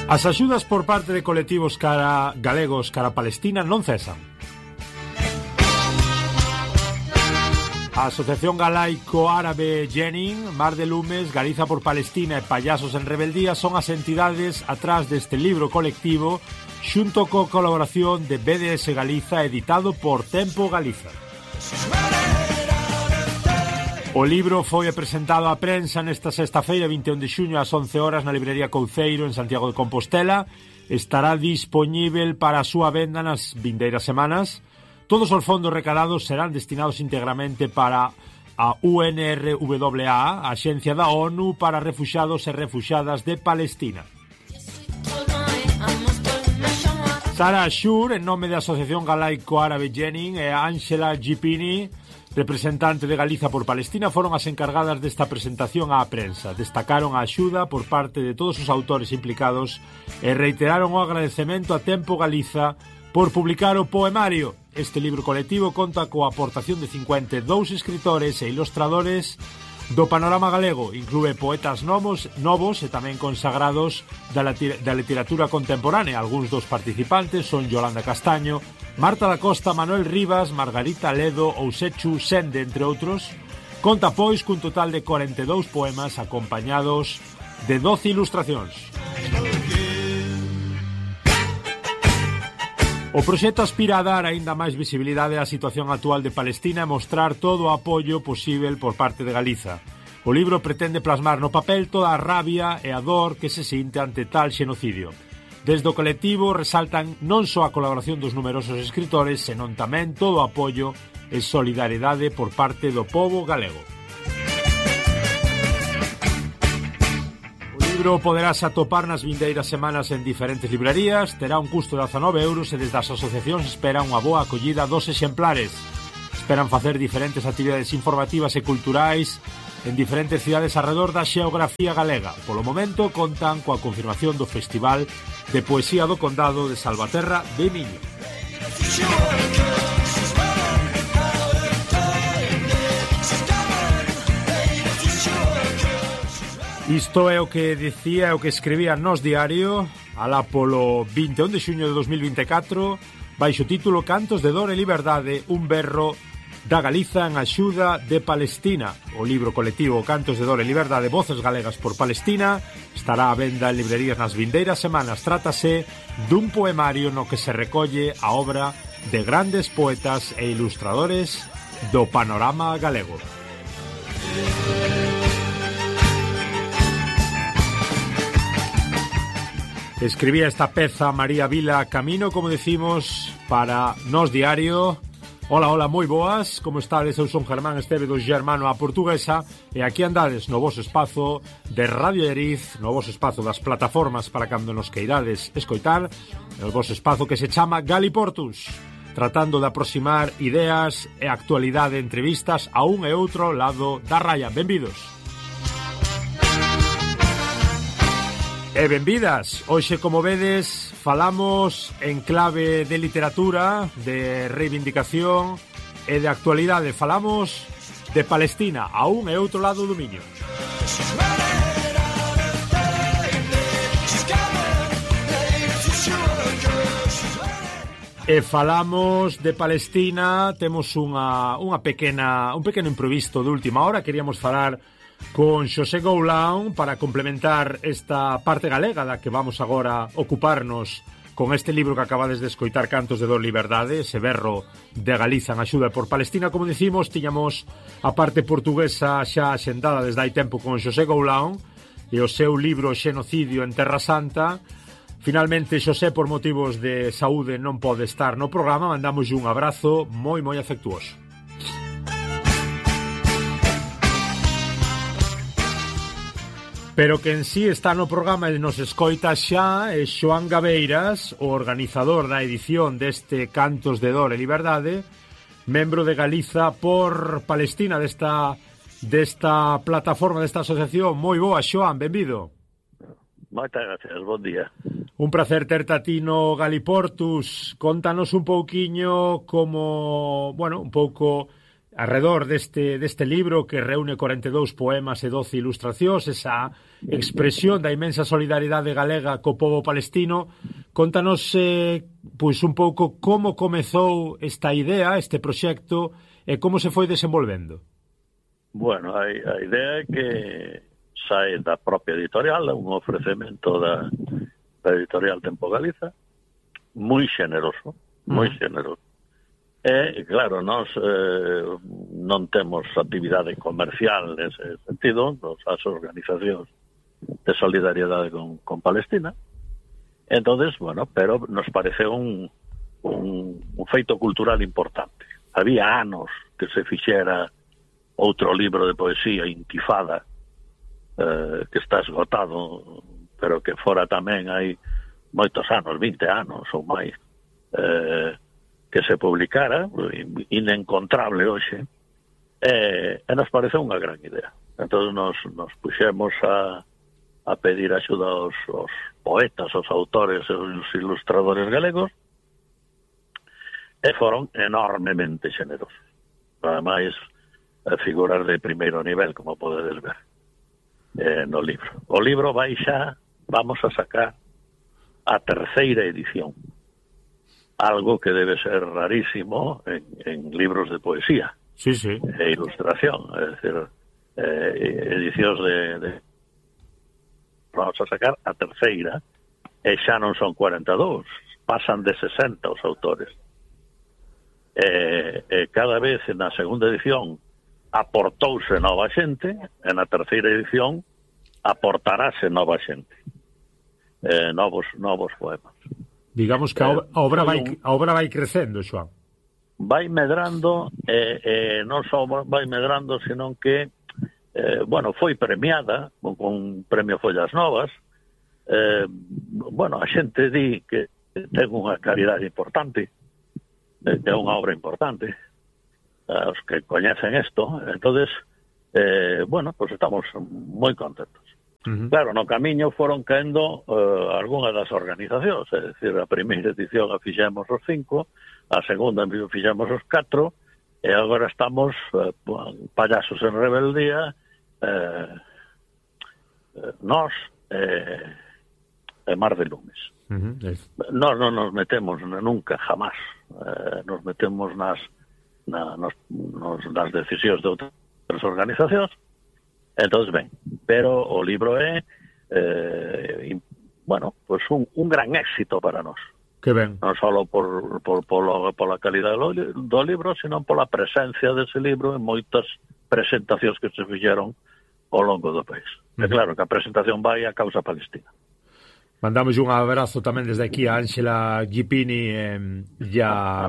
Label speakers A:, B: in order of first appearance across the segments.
A: As axudas por parte de colectivos galegos cara Palestina non cesan. A Asociación Galaico-Árabe Jenin, Mar de Lumes, Galiza por Palestina e Payasos en Rebeldía son as entidades atrás deste libro colectivo xunto co colaboración de BDS Galiza editado por Tempo Galiza. O libro foi presentado á prensa nesta sexta-feira 21 de xuño ás 11 horas na librería Couceiro en Santiago de Compostela. Estará dispoñível para a súa venda nas vindeiras semanas. Todos os fondos recadados serán destinados íntegramente para a UNRWA, a Axencia da ONU para Refuxados e Refuxadas de Palestina. Sara Ashur, en nome da Asociación Galaico-Árabe Jenin, e Ángela Gipini, representante de Galiza por Palestina, foron as encargadas desta presentación á prensa. Destacaron a axuda por parte de todos os autores implicados e reiteraron o agradecemento a Tempo Galiza por publicar o poemario. Este libro colectivo conta coa aportación de 52 escritores e ilustradores do panorama galego. Inclúe poetas novos e tamén consagrados da literatura contemporánea. Algúns dos participantes son Yolanda Castaño, Marta da Costa, Manuel Rivas, Margarita Ledo ou Sechu Sende, entre outros. Conta, pois, cun total de 42 poemas acompañados de 12 ilustracións. O proxecto aspira a dar aínda máis visibilidade á situación actual de Palestina e mostrar todo o apoio posível por parte de Galiza. O libro pretende plasmar no papel toda a rabia e a dor que se sinte ante tal xenocidio. Desde o colectivo resaltan non só a colaboración dos numerosos escritores, senón tamén todo o apoio e solidariedade por parte do pobo galego. O libro poderás atopar nas vindeiras semanas en diferentes librarías, terá un custo de 19 euros e desde as asociacións esperan unha boa acollida dos exemplares. Esperan facer diferentes actividades informativas e culturais en diferentes cidades arredor da xeografía galega. Polo momento contan coa confirmación do Festival de Poesía do Condado de Salvaterra de Miño. Isto é o que dicía, o que escribía Nós Diario alá polo 21 de xuño de 2024 baixo o título Cantos de dor e liberdade, un berro da Galiza en axuda de Palestina. O libro colectivo Cantos de dor e liberdade, voces galegas por Palestina estará á venda en librerías nas vindeiras semanas. Trátase dun poemario no que se recolle a obra de grandes poetas e ilustradores do panorama galego. Escribía esta peza María Vila Camino, como decimos, para Nós Diario. Hola, moi boas, como estades? Eu son Germán Esteve do Germano a Portuguesa e aquí andades no voso espazo de Radio Eriz, no voso espazo das plataformas para cando nos queirades escoitar, el voso espazo que se chama Galiportus, tratando de aproximar ideas e actualidade de entrevistas a un e outro lado da raya. Benvidos. E benvidas. Hoxe, como vedes, falamos en clave de literatura, de reivindicación e de actualidade. Falamos de Palestina, a un e outro lado do Miño. E falamos de Palestina, temos un pequeno improviso de última hora. Queríamos falar con Xosé Goulán para complementar esta parte galega da que vamos agora ocuparnos con este libro que acabades de escoitar, Cantos de dor e liberdade, ese berro de Galiza en axuda por Palestina. Como decimos, tiñamos a parte portuguesa xa axendada desde hai tempo con Xosé Goulán e o seu libro Xenocidio en Terra Santa. Finalmente, Xosé, por motivos de saúde, non pode estar no programa. Mandamos un abrazo moi afectuoso. Pero que en sí está no programa e nos escoita xa é Xoán Gabeiras, o organizador da edición deste Cantos de dor e liberdade, membro de Galiza por Palestina, desta plataforma, desta asociación. Moi boa, Xoán, benvido.
B: Moitas gracias, bon día.
A: Un placer terte a ti no Galiportus. Contanos un pouquiño como, un pouco arredor deste libro que reúne 42 poemas e 12 ilustracións, esa expresión da inmensa solidaridade galega co pobo palestino. Contanos pois un pouco como comezou esta idea, este proxecto, e como se foi desenvolvendo.
B: Bueno, a idea é que sae da propia editorial, un ofrecemento da editorial Tempo Galiza, moi xeneroso, moi xeneroso. E, claro, nós non temos actividade comercial nese sentido, as organizacións de solidariedade con Palestina. Entonces, bueno, pero nos pareceu un feito cultural importante. Había anos que se fixera outro libro de poesía, Intifada, que está esgotado, pero que fora tamén hai moitos anos, 20 anos ou máis, que se publicara, inencontrable hoxe, e nos pareceu unha gran idea. Entón nos puxemos a pedir axuda aos poetas, aos autores e aos ilustradores galegos, e foron enormemente xenerosos. Ademais, figuras de primeiro nivel, como podedes ver no libro. O libro vai xa, vamos a sacar a terceira edición, algo que debe ser rarísimo en libros de poesía.
A: Sí, sí.
B: E ilustración, é dicir, edicións de vamos a sacar a terceira, e xa non son 42, pasan de 60 os autores. Cada vez na segunda edición aportouse nova xente, e na terceira edición aportarase nova xente, novos poemas.
A: Digamos que a obra vai crecendo, Xoán.
B: Vai medrando, non só vai medrando, senón que foi premiada con un premio Follas Novas. A xente di que ten unha calidade importante, que é unha obra importante, os que coñecen isto. Entonces, estamos moi contentos. Claro, no camiño foron caendo algunhas das organizacións, é dicir, a primeira edición a fixemos os 5, a segunda fixemos os 4, e agora estamos Payasos en Rebeldía, nós e Mar de Lumes. Nós non nos metemos nunca, jamás, nos metemos nas decisións de outras organizacións. Entonces, ben, pero o libro é un gran éxito para nós.
A: Que ben.
B: Non só pola calidade do libro, sino pola presencia dese libro en moitas presentacións que se fixeron ao longo do país. É claro que a presentación vai á causa palestina.
A: Mandamos un abrazo tamén desde aquí a Ángela Gipini e a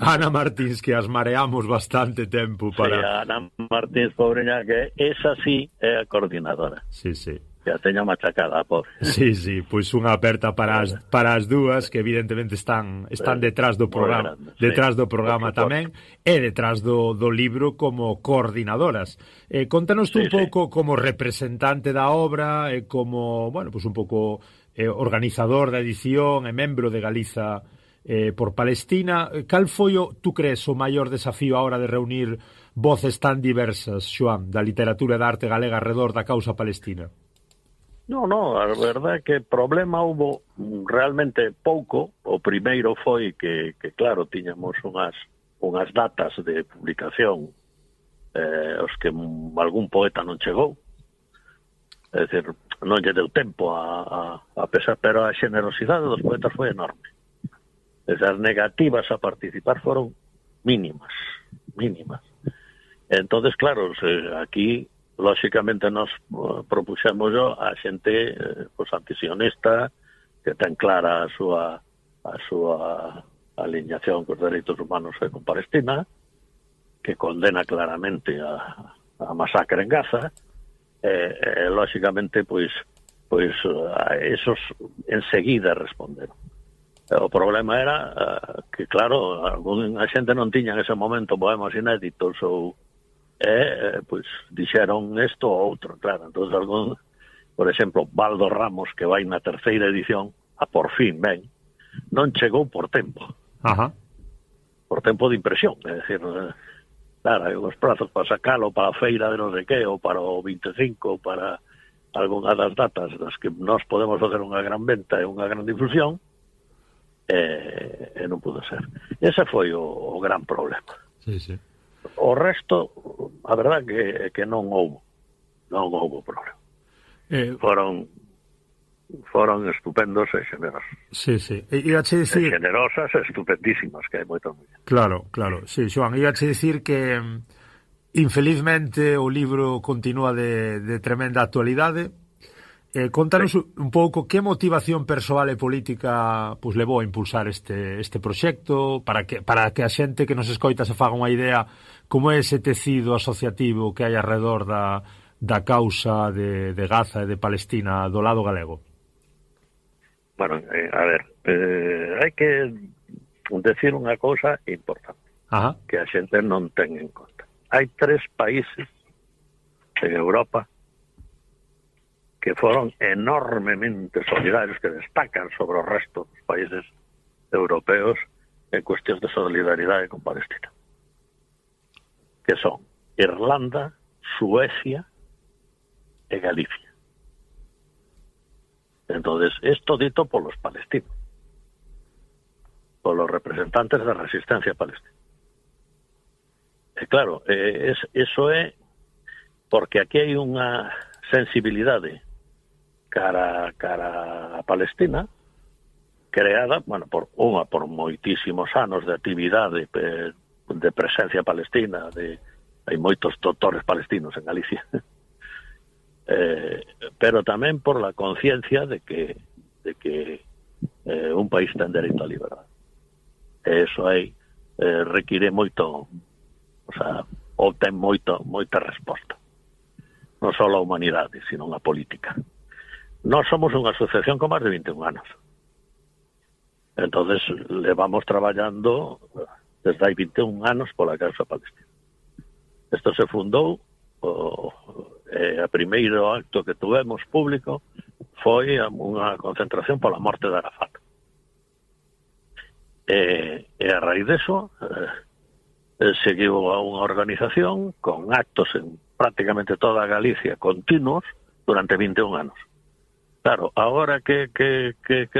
A: Ana Martins, que as mareamos bastante tempo para...
B: Sí, a Ana Martins, pobreña, que esa sí é a coordinadora.
A: Sí, sí.
B: Que a teña machacada, pobre.
A: Sí, sí, pois unha aperta para as dúas, que evidentemente están detrás do programa, tamén, e detrás do libro como coordinadoras. Contanos tú un pouco como representante da obra e como, un pouco organizador da edición e membro de Galiza por Palestina. Cal foi, tú crees, o maior desafío a hora de reunir voces tan diversas, Xoán, da literatura e da arte galega arredor da causa palestina?
B: No, a verdade é que problema hubo realmente pouco. O primeiro foi que claro, tiñamos unhas datas de publicación os que algún poeta non chegou. É dicir, non lle deu tempo a pesar, pero a xenerosidade dos poetas foi enorme. As negativas a participar foron mínimas. Entonces, claro, aquí lóxicamente nos propuxemos a xente antisionista, que ten clara a súa alineación cos dereitos humanos e con Palestina, que condena claramente a masacre en Gaza, lóxicamente a esos enseguida responderon. O problema era que, claro, a xente non tiña en ese momento poemas inéditos ou dixeron isto ou outro, claro. Entón, por exemplo, Baldo Ramos, que vai na terceira edición, por fin non chegou por tempo.
A: Ajá.
B: por tempo de impresión, é dicir, claro, hai uns prazos para sacalo para a feira de non sei que, ou para o 25, ou para algunha das datas das que nós podemos facer unha gran venta e unha gran difusión, e non pudo ser. Ese foi o gran problema.
A: Sí, sí.
B: O resto, a verdad que non houbo problema. Foron estupendos e generosos.
A: Sí, sí. Iache dicir...
B: generosas e estupendísimas, que hai moitas mulleres.
A: Claro. Sí, Xoán, iache dicir que infelizmente o libro continúa de tremenda actualidade. Contanos un pouco que motivación persoal e política pues levou a impulsar este proxecto para que a xente que nos escoita se faga unha idea como é ese tecido asociativo que hai alrededor da causa de Gaza e de Palestina do lado galego.
B: Bueno, a ver, hai que decir unha cousa importante.
A: Ajá.
B: Que a xente non ten en conta. Hai 3 países en Europa que foron enormemente solidarios, que destacan sobre o resto dos países europeos en cuestións de solidaridade con Palestina. Que son Irlanda, Suecia e Galicia. Entonces, esto dito polos palestinos, polos representantes da resistencia palestina. E claro, eso é porque aquí hai unha sensibilidade cara a Palestina creada, bueno, por moitísimos anos de actividade de presencia palestina, hai moitos doutores palestinos en Galicia. Pero tamén por la conciencia de que un país ten dereito a liberdade. Eso aí require moito, o sea, ou ten moita resposta. Non só a humanidade, sino a política. Nós somos unha asociación con máis de 21 anos. Entonces, levamos traballando desde hai 21 anos pola causa palestina. Isto se fundou, a primeiro acto que tuvemos público foi unha concentración pola morte de Arafat. E a raíz deso seguiu a unha organización con actos en prácticamente toda Galicia continuos durante 21 anos. Claro, agora que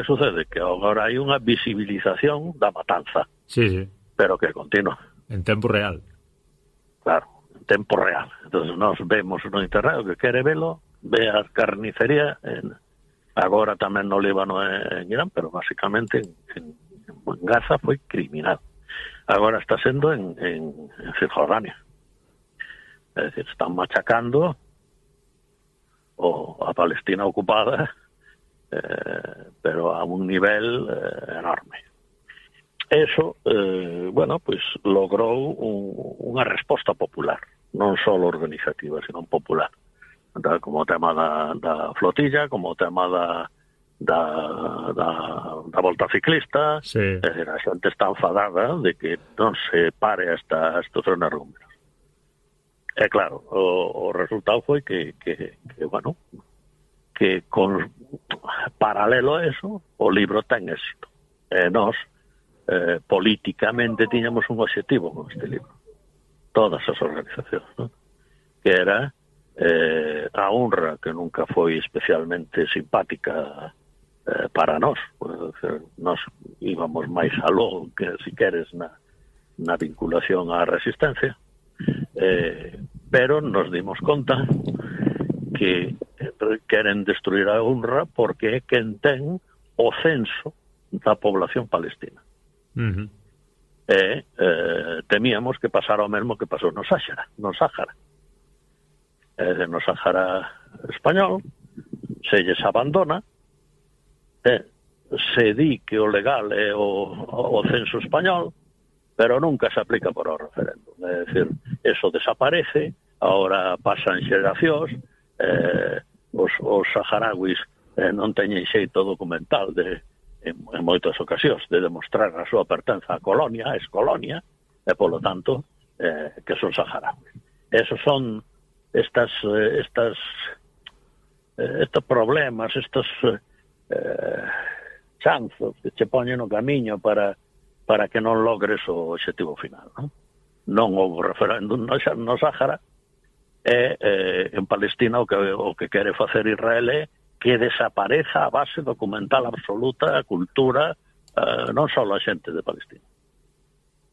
B: sucede? Que agora hai unha visibilización da matanza.
A: Sí.
B: Pero que continua.
A: En tempo real.
B: Claro, en tempo real. Entonces nos vemos no internet, o que quere velo, ve a carnicería, agora tamén no Líbano e en Irán, pero basicamente en Gaza foi criminal. Agora está sendo en Cisjordania. É dicir, están machacando a Palestina ocupada, pero a un nivel enorme. Eso, bueno, pues logrou unha resposta popular, non só organizativa, sino popular. Como o tema da flotilla, como o tema da volta ciclista,
A: sí.
B: É dicir, a xente está enfadada de que non se pare estos energúmenos. É claro, o resultado foi que bueno, que con paralelo a eso, o libro ten éxito. Nós, políticamente, tiñamos un objetivo con este libro. Todas as organizacións, ¿no? Que era a honra, que nunca foi especialmente simpática para nós. Nós íbamos máis aló, que si queres, na vinculación á resistencia. Pero nos dimos conta que queren destruir a UNRWA porque é quen ten o censo da población palestina.
A: Uh-huh.
B: Temíamos que pasara o mesmo que pasou no Sáhara. No Sáhara español se lles abandona, se di que o legal é o censo español, pero nunca se aplica por o referéndum. É dicir, eso desaparece, ahora pasan xeracións, os saharauis non teñen xeito documental en moitas ocasións de demostrar a súa pertenza á colonia, a excolonia, e polo tanto que son saharauis. Esos son estos problemas, estos chanzos que che poñen no camiño para para que non logres o obxectivo final, non? Non houve referéndum no Sáhara, e en Palestina o que quere facer Israel é que desapareza a base documental absoluta, a cultura, non só a xente de Palestina.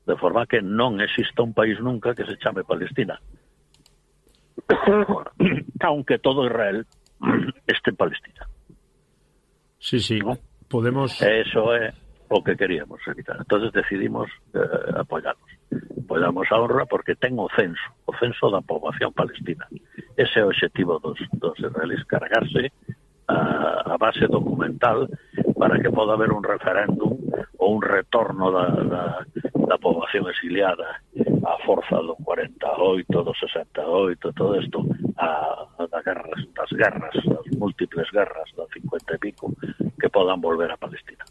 B: De forma que non exista un país nunca que se chame Palestina. Aunque todo Israel este en Palestina.
A: Sí, ¿no? Podemos...
B: Eso é o que queríamos evitar. Entonces decidimos apoyarnos. Apoyamos a honra porque ten o censo da poboación palestina. Ese é o objetivo dos israelíes, cargarse a base documental para que poda haber un referéndum ou un retorno da poboación exiliada a forza do 48, do 68, todo isto das guerras, das múltiples guerras da 50 e pico, que podan volver a Palestina.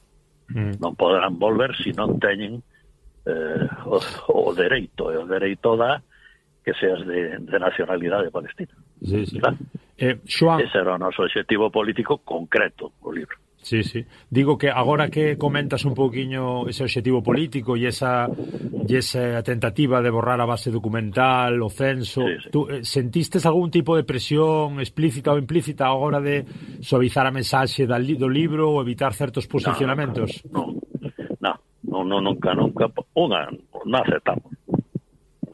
B: Non poderán volver se non teñen o dereito, e o dereito dá que seas de nacionalidade palestina.
A: Sí, sí.
B: Claro.
A: Xoan...
B: Ese era o noso objetivo político concreto, o libro.
A: Sí, sí. Digo que agora que comentas un pouquiño ese objetivo político e esa tentativa de borrar a base documental, o censo, sí, sí. Tú sentistes algún tipo de presión explícita ou implícita a hora de suavizar a mensaxe do libro ou evitar certos posicionamentos?
B: Nunca. Non aceptamos.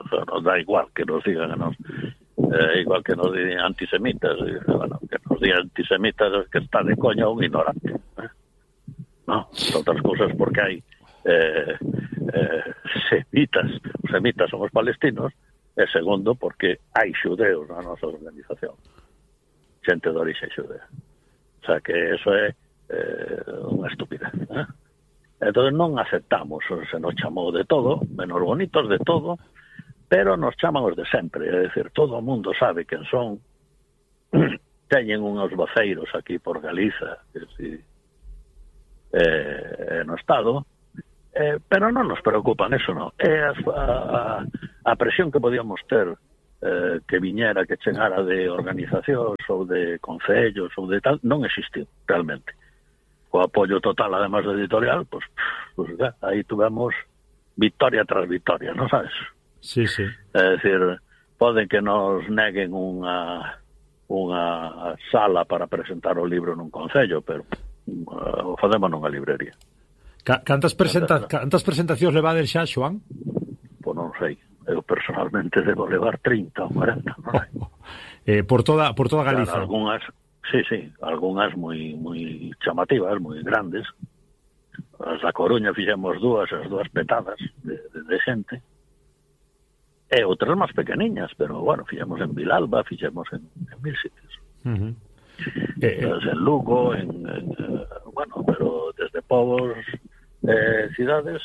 B: O sea, nos da igual que nos digan a nos... igual que nos digan antisemitas, bueno, que nos digan antisemitas es que está de coña un ignorante, no, outras cousas porque hai semitas somos palestinos, e segundo porque hai xudeos na nosa organización, xente de orixe xudea, o sea que eso é unha estupidez, entonces non aceptamos, se nos chamou de todo, menos bonitos de todo, pero nos chaman os de sempre, é dicir, todo o mundo sabe quen son, teñen unhos voceiros aquí por Galiza, que si, no Estado, pero non nos preocupan, eso non. É a presión que podíamos ter, que viñera, que chegara de organizacións ou de concellos ou de tal, non existiu, realmente. O apoio total, además do editorial, pues aí tuvemos victoria tras victoria, non sabes?
A: Sí, sí.
B: É dicir, poden que nos neguen unha sala para presentar o libro nun concello, pero o facemos nunha librería.
A: Cantas presentacións levades xa, Xoan?
B: Pois non sei. Eu personalmente debo levar 30 ou 40, non sei.
A: Por toda Galiza.
B: Claro, algunhas moi chamativas, moi grandes. As da Coruña fixemos as dúas petadas de xente. E outras máis pequeniñas, pero, bueno, fixemos en Vilalba, fixemos en 1000 sitios. En Lugo, bueno, pero desde povos cidades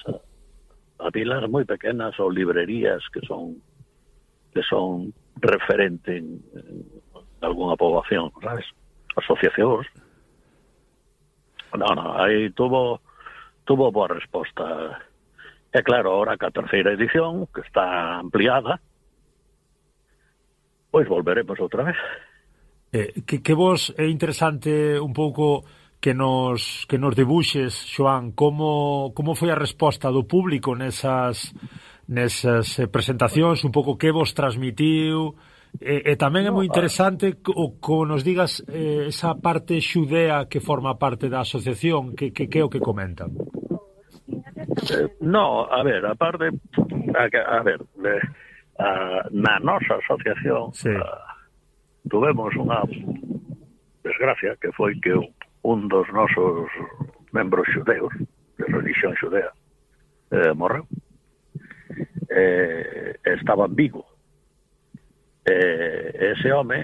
B: a vilas moi pequenas ou librerías que son referente en algunha poboación, sabes? Asociacións. Aí tuvo boa resposta. E claro, ahora que a terceira edición, que está ampliada, pois volveremos outra vez.
A: Que vos é interesante un pouco que nos debuxes, Xoan, como foi a resposta do público nesas presentacións, un pouco que vos transmitiu, e tamén é moi interesante como nos digas esa parte xudea que forma parte da asociación, que é o que comentan.
B: No, a ver, aparte, na nosa asociación sí. Tuvemos unha desgracia que foi que un dos nosos membros xudeos de religión xudea morreu, estaba en Vigo, ese home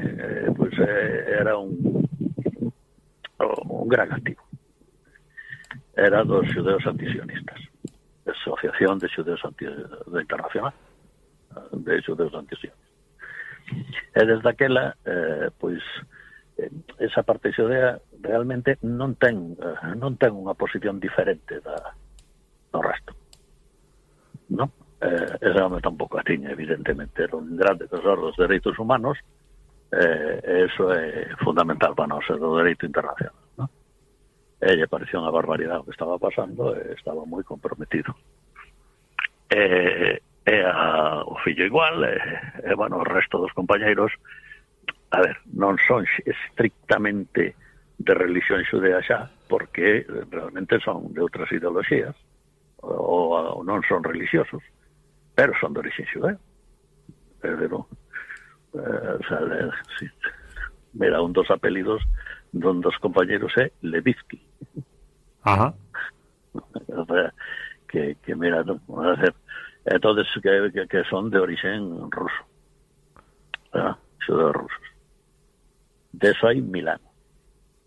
B: pues, era un gran activo, era dos xudeos antisionistas, Asociación de Xudeos Internacional de Xudeos Antisionistas. E desde aquela, pois, esa parte xudea realmente non ten unha posición diferente do resto, non? Ese home tampouco a tiña, evidentemente, era un grande defensor dos dereitos humanos, e eso é fundamental para nós, do dereito internacional, non? E lle pareció unha barbaridade o que estaba pasando e estaba moi comprometido. o fillo igual, bueno, o resto dos compañeiros, a ver, non son estrictamente de religión xudea xa, porque realmente son de outras ideoloxías, ou non son religiosos, pero son de origen xudeo. Pero, o sea, sí. Mira, un dos apelidos dun dos compañeros é Levitsky.
A: Ajá.
B: O sea, que mira, ¿no? A ver, entonces que son de origen ruso, xudeos rusos. De eso hay 1000 anos,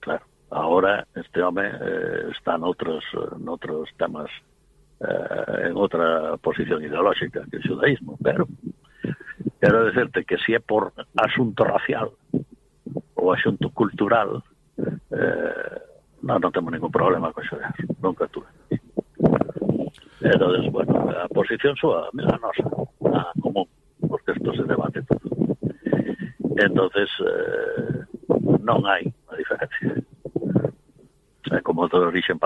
B: claro. Ahora este home está noutros temas, en outra posición ideolóxica que o xudaísmo, pero quero decirte que si é por asunto racial ou asunto cultural, non temos ningún problema con xudeos, nunca tuve. Entonces, bueno, a posición súa, a nosa, a común, porque isto se debate todo. Entonces, non hai a diferencia. Como de origen